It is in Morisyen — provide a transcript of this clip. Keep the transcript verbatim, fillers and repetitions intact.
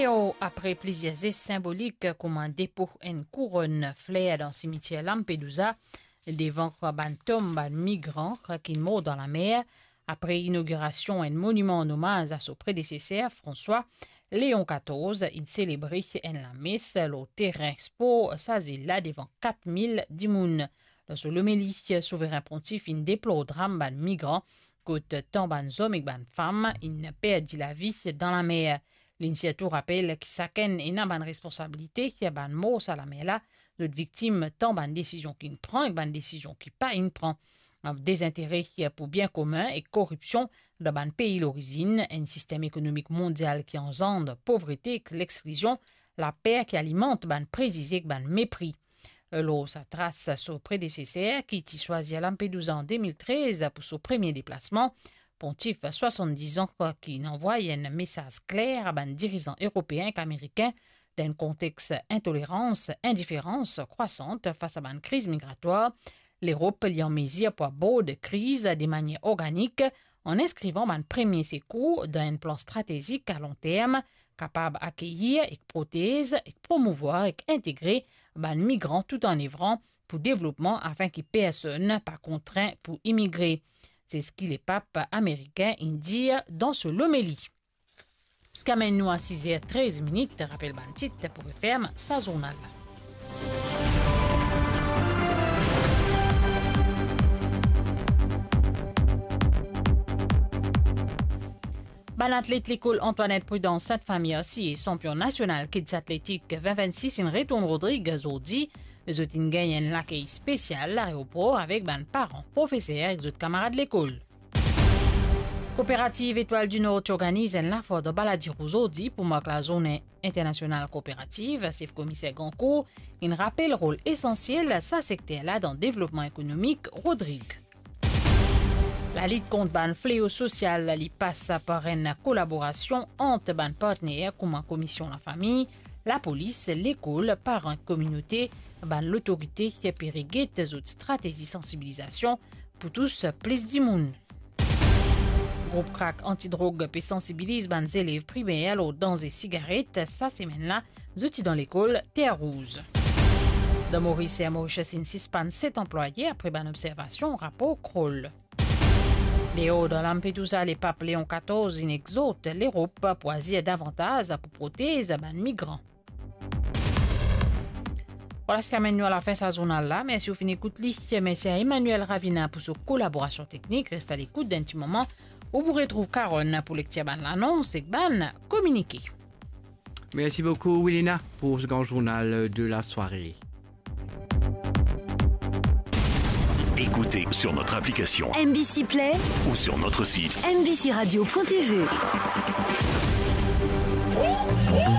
Leo, apre plizier zes sinbolik kouma depo enn kouronn fler dan simitier Lampedusa, devan bann tom bann migran ki mor dan lamer, apre inogirasion enn moniman an omaz a so predeseser François, Léon katorz inn selebre enn lames lor terin spor sa zil la devan kat mil dimoun. Dan so lomeli, Souveren Pontif inn deplor dram bann migran, kot tan bann zom ek bann fam inn perdi lavi dan lamer. Linn sirtou rapel ki sakenn ena bann responsabilite, bann mor sa lamer la, zot viktim tan bann desizion ki'nn pran ek bann desizion ki pa inn pran. Dezintere pou bien komin ek koripsion dan bann pei lorizinn, enn sistem ekonomik mondial ki anzand povrete ek lexklizion, laper ki alimant bann prezize ek bann mepri. Lor sa tras so predeseser ki ti swazir Lampedusa an de mil trez pou so premie deplasman, Pontif swasann-diz an ki inn anvway enn mesaz kler a bann dirizan eropeen ek amerikin, dan enn kontex intolerans, indiferans krwasant fas a bann kriz migratwar, Lerop li an mezir pou abord kriz de manier organik, an inskrivan bann premie sekour dan enn plan stratezik a long term, kapab akeyir ek protez ek promouvwar ek integre bann migran tout an evran pou devlopman, afin ki personn pa kontrin pou imigre. Se seki lepap amerikin inn dir dan so lomeli. Seki amenn nou a sizer trez minit, rapel bann tit pou referm sa zournal la. Bann atlet lekol Antoinette Prudence Sainte-Famille Arcy e sanpion nasional kids atletik vin vinn sis inn retourn Rodrig zordi. Zot inn gagn enn lakey spesial laeropor avek bann paran, profeser ek zot kamarad lekol. Kooperativ Etoile du Nord ti organiz enn lafoire dan Baladiro zordi pou mark lazourne internasional kooperativ. Sef Komiser Gancourt inn rapel rol esansiel sa sekter la dan devlopman ekonomik Rodrig. Lalit kont bann fleo sosial li pas par enn kolaborasion ant bann partner kouma Komisyon Lafami, lapolis, lekol, paran, kominote, bann lotorite pe reget zot stratezi sansibilizasion pou tous plis dimoun. Group Crack Antidrog pe sansibiliz bann zelev primer lor danze sigaret. Sa semenn la, zot ti dan lekol Terre Rouge. Dan Moris, Air Mauritius inn sispann set anplwaye apre bann observasion rapor Kroll. Deor dan Lampedusa, Lepap Leon katorz inn exort Lerop pou azir davantaz pou protez bann migran. Vwala seki amenn nou a lafin sa zournal la. Mersi ou finn ekout li. Mersi a Emmanuel Ravina pou so kolaborasion teknik. Res a lekout, dan enn ti moman ou pou retrouv Carole pou lektir bann lanons ek bann kominike. Merci beaucoup, Wilina, pour ce grand journal de la soirée. Écoutez sur notre application M B C Play ou sur notre site M B C radio point T V.